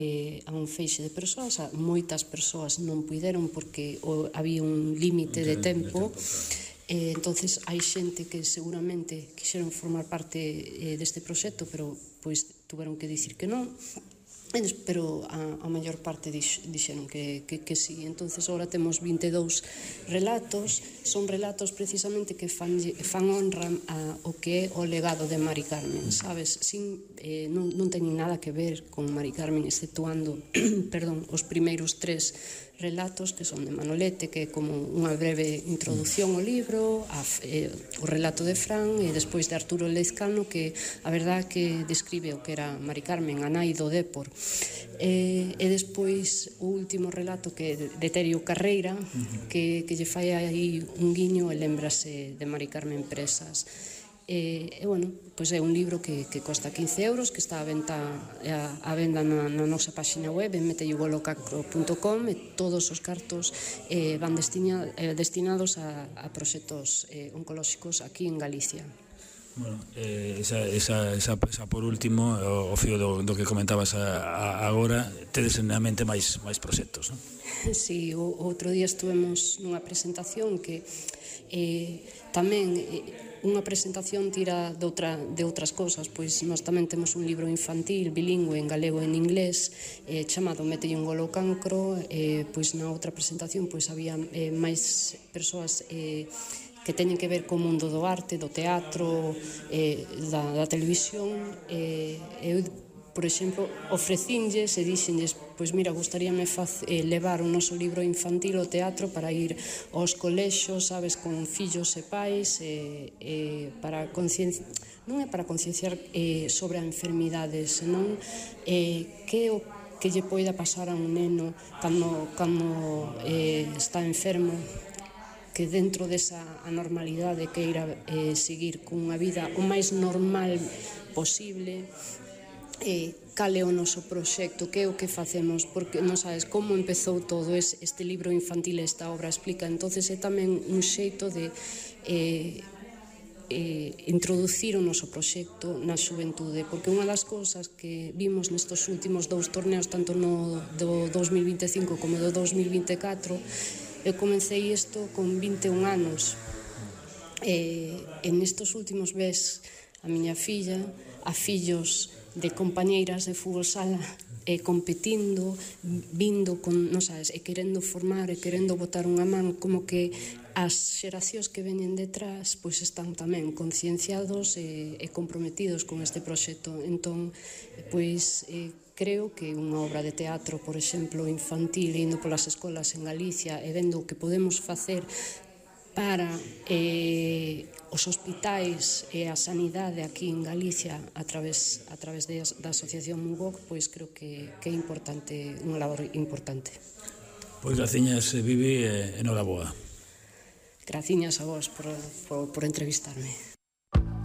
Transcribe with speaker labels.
Speaker 1: a un feixe de persoas, moitas persoas non puideron porque había un límite de tempo. Entonces hai xente que seguramente quixeron formar parte deste proxecto, pero pois tuveron que dicir que non, pero a maior parte dixeron que sí. Entonces agora temos 22 relatos, son relatos precisamente que fan honra ao que é o legado de Mari Carmen, sabes? Non teñen nada que ver con Mari Carmen, exceptuando os primeiros 3 relatos que son de Manolete, que é como unha breve introducción ao libro, o relato de Fran, e despois de Arturo Lezcano, que a verdade que describe o que era Mari Carmen, a nai do Dépor. E despois o último relato, que é de Terio Carreira, que lle fai aí un guiño e lembrase de Mari Carmen Presas. E bueno, pois é un libro que costa 15 euros, que está a venda na nosa página web, en meteyugolocacro.com, e todos os cartos van destinados a proxectos oncolóxicos aquí en Galicia.
Speaker 2: Bueno, esa por último, o fío do que comentabas agora, tedes na mente máis proxectos, non?
Speaker 1: Si, outro día estuvemos nunha presentación que tamén unha presentación tira de outras cousas, pois nós tamén temos un libro infantil bilingüe en galego e en inglés chamado Metelle un golo ao cancro. Pois na outra presentación pois había máis persoas que teñen que ver co mundo do arte, do teatro, da televisión. Eu, por exemplo, ofrecinlles e dixenlles, pois mira, gustaríame levar o noso libro infantil ao teatro para ir aos colexos, sabes, con fillos e pais, para non é para concienciar sobre a enfermidade, senón que o que lle poida pasar a un neno cando está enfermo, que dentro desa anormalidade queira seguir cunha vida o máis normal posible. Cal é o noso proxecto, que é o que facemos, porque non sabes como empezou todo este libro infantil, esta obra explica. Entonces é tamén un xeito de introducir o noso proxecto na xuventude, porque unha das cousas que vimos nestos últimos 2 torneos, tanto no do 2025 como do 2024, eu comecei isto con 21 anos, e nestos últimos ves a miña filla, a fillos de compañeiras de fútbol sala competindo, vindo con, non sabes, e querendo formar e querendo botar unha man, como que as xeracións que veñen detrás pois están tamén concienciados e comprometidos con este proxecto. Entón, pois creo que unha obra de teatro, por exemplo, infantil, indo polas escolas en Galicia e vendo o que podemos facer para os hospitais e a sanidade aquí en Galicia a través da Asociación MUGOC, pois creo que é importante, unha labor importante.
Speaker 2: Pois graciñas, Vivi, e noraboa.
Speaker 1: Graciñas a vos por entrevistarme.